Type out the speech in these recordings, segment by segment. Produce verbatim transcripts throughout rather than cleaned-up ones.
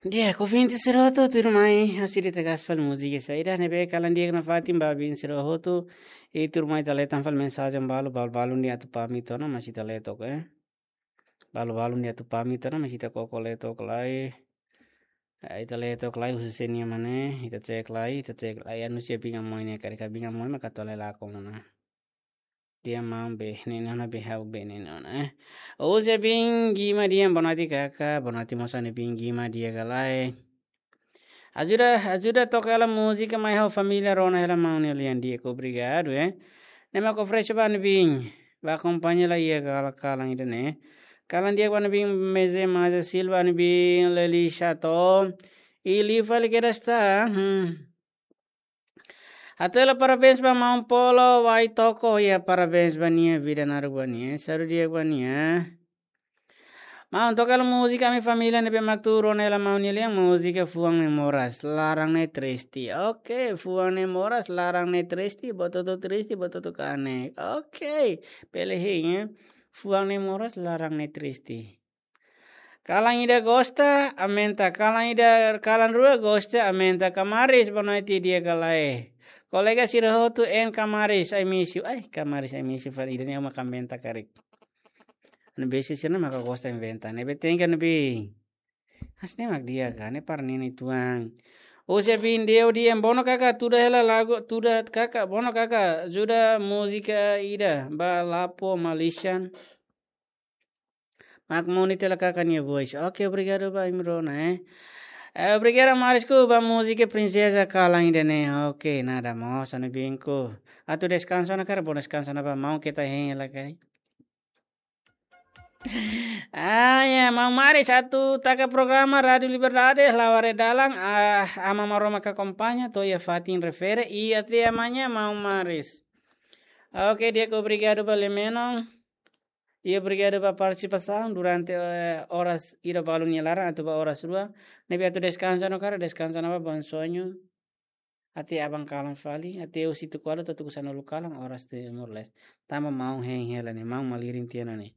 Di'ak, ouvinte sira hotu, tuirmai, ha'u sei dehan katak múzika saida ne'ebé kalan di'ak nafatin ba ouvinte sira hotu, i tuirmai ita hetan fali mensajen balu, balu, balun dehan atu pamit ona, mas ita lee took, eh. Balu, balun dehan atu pamit ona, mas ita koko lee took lai. Eh, ita lee took lai, husi sé nian mak ne'e, ita cek lai, ita cek lai, anu sia binga moi ne'e, karik ka binga moi, maka atu lee lakon ona. Dehan maun bee neen ona, bee ha'u bee neen ona, eh. Husi Bingima dehan boa noite kaka, boa noite mós ha'u-nia Bingima di'ak ka lae. Ajuda, ajuda toka hela múzika mai ha'u família rona hela maun nia lian di'ak, obrigadu, eh. Ne'e mak oferese ba ne'ebé, ba akompaña lai iha kalan, kalan ida-ne'e. Kalan di'ak ba ne'ebé, Meze Maza Silva ne'ebé, Leli Chato. I liu fali kedas tan, hmm. Hato'o hela parabéns ba maun Polo, Wai Toko, ya parabéns ba nia, vida naruk ba nia, saúde di'ak ba nia. Maun, toka hela múzika ami família ne'ebé mak tuur ona hela maun nia lian, múzika Fuan Ne'e Moras, Laran Ne'e Triste. Oke, Fuan Ne'e Moras, Laran Ne'e Triste, buat hotu triste, buat hotu kanek. Oke, bele hein, eh. Fuan Ne'e Moras, Laran Ne'e Triste. Kalan ida gosta, aumenta. Kalan ida, kalan rua gosta, aumenta. Kamaris, boa noite, di'ak ka lae. Kolega sira hotu, en Kamaris, I miss you. Ai, Kamaris, I miss you, fali ida-ne'e mak aumenta karik. Anu besi sira maka gosta inventa. Ne'ebé tenke anu be. As ne'e mak di'ak ka, ne'e para nini tuan. Husi Bindeu dehan bono kaka, tuda hela lagu, tuda kaka, bono kaka, ajuda múzika ida, ba Lapo Malaysian. Mak moni tela kaka nia voice. Oke, obrigadu ba imi rona, eh. Eh, obrigadu Marisku ba múzika Prinseza kalan ida-ne'e. Oke, nada mós, anu binku. Atu deskansa ona karik, bom deskansa ona ba maun keta hein hela karik. Ah, ya, maun Maris atu taka programa Rádio Liberdade, laware dalan, ah, Aman Maromak akompaña, to'o iha fatin refere, i até amanhã, maun Maris. Oke, di'ak, obrigadu ba lee-menon. I obrigadu ba partisipasaun durante, eh, oras ida balun nia laran atu ba oras rua. Ne'ebé atu deskansa ona karik, deskansa ona ba, bom sonho. Até aban kalan fali, até husi tuku ualu to'o tuku sanulu kalan, oras Timor-Leste. Tanba maun hein hela ne'e, maun malirin tiha ona ne'e.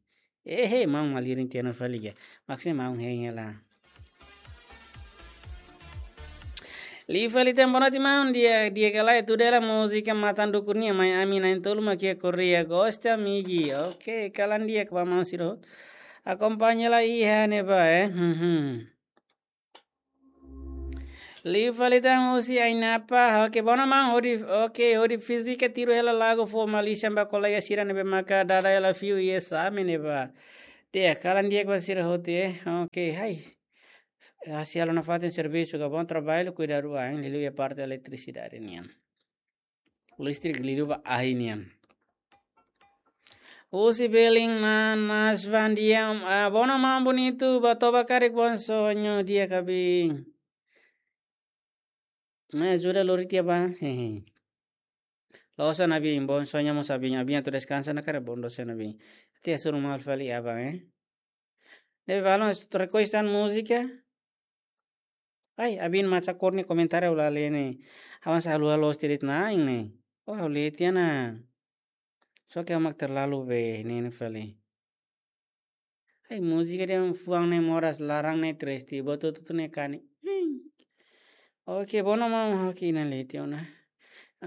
Ehe, maun malirin tiha ona fali ka. Maksudnya maun hein hela. Liu fali tan, boa noite maun, di'ak, di'ak ka lae, tuda hela múzika Matan Dukur nian, mai ami na'in-tolu mak iha Korea, gosta migi. Oke, kalan di'ak ba maun sira hotu. Akompaña lai iha ne'ebá, eh. Hmm, hmm. Liu fali tan husi Ainapa, oke, bono maun hodi, oke, hodi fízika tiru hela lagu Fuan Malaysian ba kolega sira ne'ebé maka dada hela fiu iha esame ne'ebá. Di'ak, kalan di'ak ba sira hotu, eh. Oke, hai. Hasi halo nafatin servisu ka, bom trabalho, kuidadu ain, liuliu iha parte eletrisidade nian. Listrik liuliu ba ahi nian. Husi Belin Manas Van Diam, ah, bono maun bonitu, ba toba karik bom sonho di'ak ka bin. Mai ajuda lori tiha ba, hehe. Loos ona bin, bom sonho mós ba bin, bin atu deskansa ona karik, bom sonho ona bin. Tiha suru mal fali aban, eh. Ne'ebé balun requestan múzika. Ai, abin maca kor ni komentar ha'u la lee ne'e. Awan sa haluha loos tiha de'it na'in ne'e. Oh, ha'u lee tiha ona. Só ke ha'u mak terlalu bee neen fali. Ai, múzika dehan Fuan Ne'e Moras, Laran Ne'e Triste, buat hotu-hotu ne'e kanek. Hmm. Oke, bono maun, oke, ita lee tiha ona.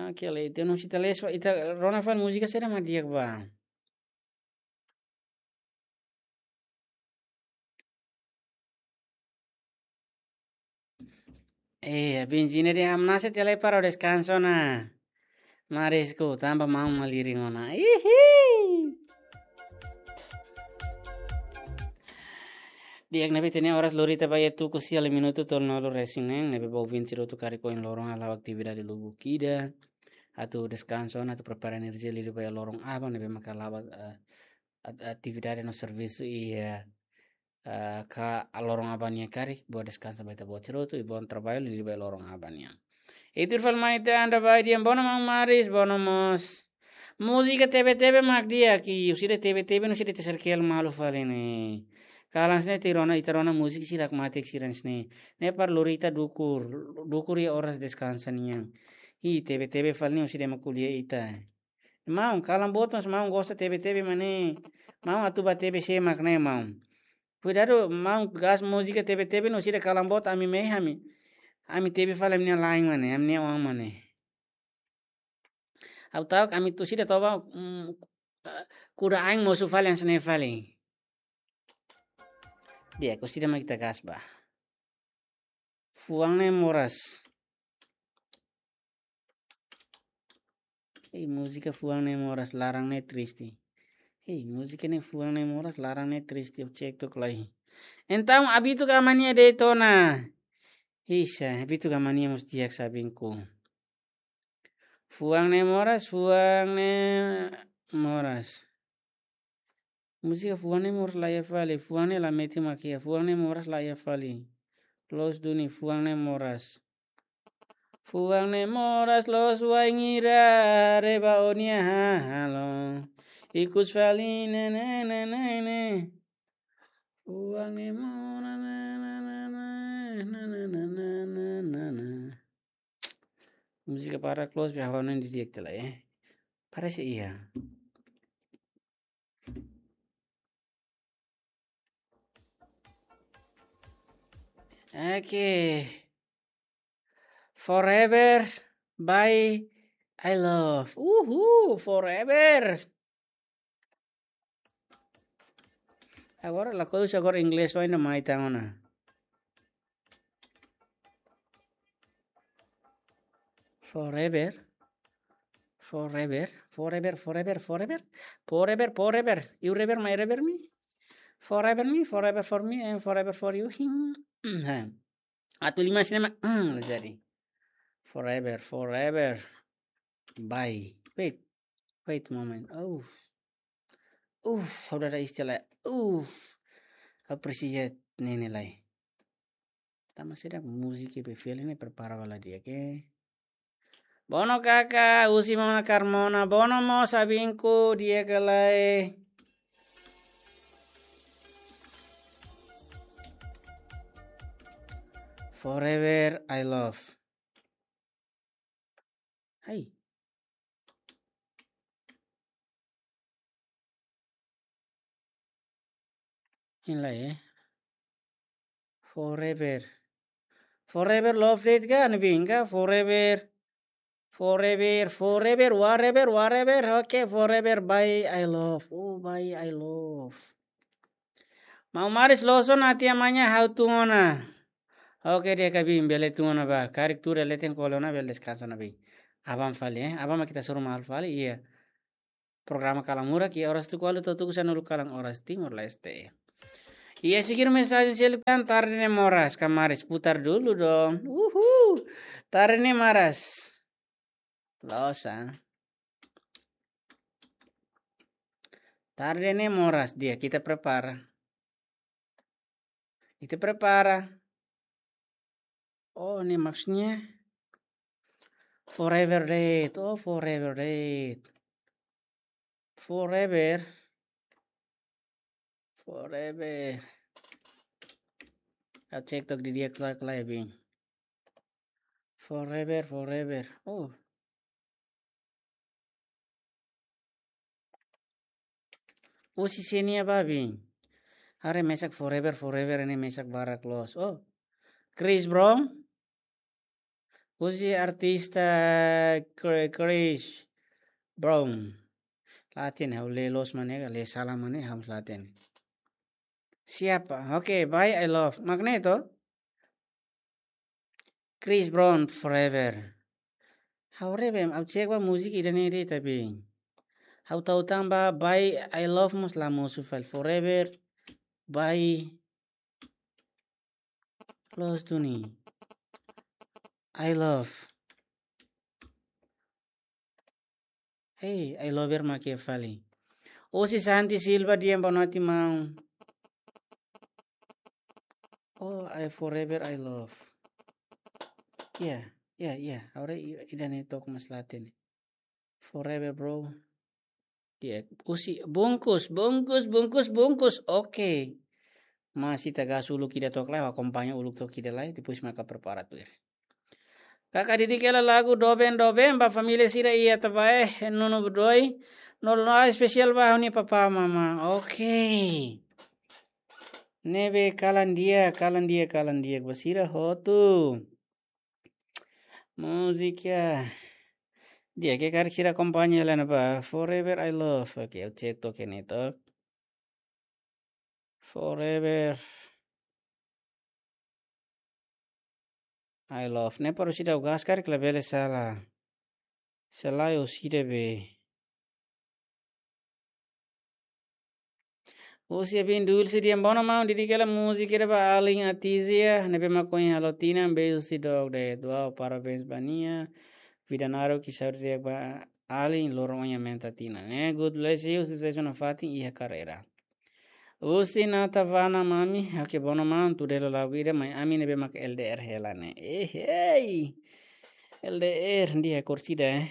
Oke, lee tiha ona, ita lee, ita rona fali múzika saida mak di'ak ba. Eh, benzina dehan hamnasa tiha lai para deskansa ona. Marisku, tanba maun malirin ona. Ihi. Di'ak, ne'ebé ita-nia oras lori tiha ba iha tuku sia, lima minutu tolunulu-resin-neen, ne'ebé ba ouvinte sira hotu karik ohin loron halo atividade lubuk ida. Atu deskansa ona, atu prepara enerjia liuliu ba iha loron aban, ne'ebé maka la'o, eh, at-, atividade no servisu iha, eh, ka loron aban nian karik, bom deskansa ba ita-boot sira hotu, i bom trabalho liuliu ba iha loron aban nian. I tuir fali mai ita anda ba dehan bono maun Maris, bono mós. Múzika Tebe-tebe mak di'ak, i husi ida Tebe-tebe, husi ida ita serkel malu fali ne'e. Kalan sne ita rona, ita rona múzika sira mak matek sira sne. Ne'e para lori ita dukur, dukur iha oras deskansa nian. I Tebe-tebe fali ne'e husi ida ema ko'alia ita. Maun, kalan boot mós maun gosta Tebe-tebe mak ne'e. Maun atu ba Tebe sé mak ne'e maun. Kuidadu, maun gas múzika tebe-tebe no sira kalan boot ami mehi ami. Ami tebe fali ami-nia lain mane, ami-nia oan mane. Ha'u ta'uk ami tu sira toba, mm, eh, kuda ain mosu fali hanesan ne'e fali. Di'ak, orsida mak ita gas ba. Fuan ne'e moras. Ei, múzika fuan ne'e moras, laran ne'e triste. Ei, múzika ne'e fuan ne'e moras, laran ne'e triste, ha'u cek tok lai. Entaun, Abitu ka Amania de'it ona. Isa, Abitu ka Amania mós di'ak sabinku. Fuan ne'e moras, fuan ne'e moras. Múzika fuan ne'e moras la iha fali, fuan ne'e la metin mak iha, fuan ne'e moras la iha fali. Loos duni, fuan ne'e moras. Fuan ne'e moras loos wainhira, reba ó-nia hahalok. Ikus fali, ne, ne, ne, ne, ne. Fuan ne'e moras, ne, ne, ne, ne, ne, ne. Múzika para close, be hawa non di di'ak tela, eh. Parese iha. Oke. Forever by I love. Uhu, forever. Agora, la coisa agora inglés vai na mai tan ona. Forever. Forever. Forever, forever, forever. Forever, forever. You rever, my rever me. Forever me, forever for me, and forever for you. Hing. Atu liman sira mak, hmm, la jadi. Forever, forever. Bye. Wait. Wait a moment. Oh. Uff, saudara istilah. Uff. Apresiasi ne'e lai. Tama sira múzika be feel ne'e prepara bala di'ak, oke. Bono kaka, husi mana Carmona, bono mós abinku di'ak ka lae. Forever I love. Hai. Hein lai, eh. Forever. Forever love de'it ka, ne'ebé ka, forever. Forever, forever, whatever, whatever. Oke, forever, bye, I love. Oh, bye, I love. Maun Maris loos ona, até amanhã ha'u tun ona. Oke, di'ak ka biin, bele tun ona ba. Karik tuur leten kole ona, bele deskansa ona biin. Aban fali, eh. Aban mak ita hasoru malu fali, iya. Programa Kalan Murak, iha oras tuku ualu to'o tuku sanulu kalan oras Timor-Leste. Iha sekian mensajen seluk tan, tarde ne'e moras, ka Maris, putar dulu dong. Uhu. Tarde ne'e moras. Loos, ah. Tarde ne'e moras, di'ak, ita prepara. Ita prepara. Oh, ne'e maksudnya forever de'it. Oh, forever de'it. Forever. Forever. Ha'u cek tok didi'ak ka lae, biin. Forever, forever. Oh. Husi sé nia ba, biin? Haree mesak forever, forever ne'e mesak barak loos. Oh. Chris Brown. Husi artista Chri-, Chris Brown. La hatene, ha'u lee loos mane ka, lee sala mane, ha'u la hatene. Siapa? Oke, bye, I love. Mak ne'e to? Chris Brown, forever. Ha'u haree be, ha'u cek ba múzika ida-ne'e de'it, tapi ha'u tau tan ba, bye, I love mós la mosu fali, forever, bye. Loos duni. I love. Hey, I love her mak iha fali. Husi Santi Silva, di'ak, boa noite, maun. Oh, I forever I love. Iya, iya, iya. Agora i-, ida-ne'e to'o mós la hatene. Forever, bro. Di'ak, husi bungkus, bungkus, bungkus, bungkus. Oke. Mas ita gas uluk ida to'o lai, akompaña uluk to'o ida lai, depois maka prepara tuir. Kaka Didi, hela lagu doben, doben ba família sira iha Tabaé, Nunu Budoi. No, no, espesiál ba ha'u-nia papá, mamá. Oke. Ne'ebé kalan di'ak, kalan di'ak, kalan di'ak ba sira hotu. Múzika di'ak ke karik sira akompaña hela ne'e ba Forever I Love. Oke, ha'u cek to'ok iha ne'e to'ok. Forever I Love. Ne'e para orsida gas karik labele sala. Selae orsida be. Husi Abin Dulce, di'ak, bono maun, dedika hela múzika ida ba alin Atizia, ne'ebé mak ohin halo tinan, beijo husi Dok de Duau, parabéns ba nia. Vida naruk, saúde di'ak ba alin, loron ohin aumenta tinan ne'e. God bless you, susesu nafatin iha karreira. Husi Nata Vana, mami, oke, bono maun, tuir hela lagu ida, mai ami ne'ebé mak L D R hela ne'e. Eh, hey! L D R, di'ak orsida, eh.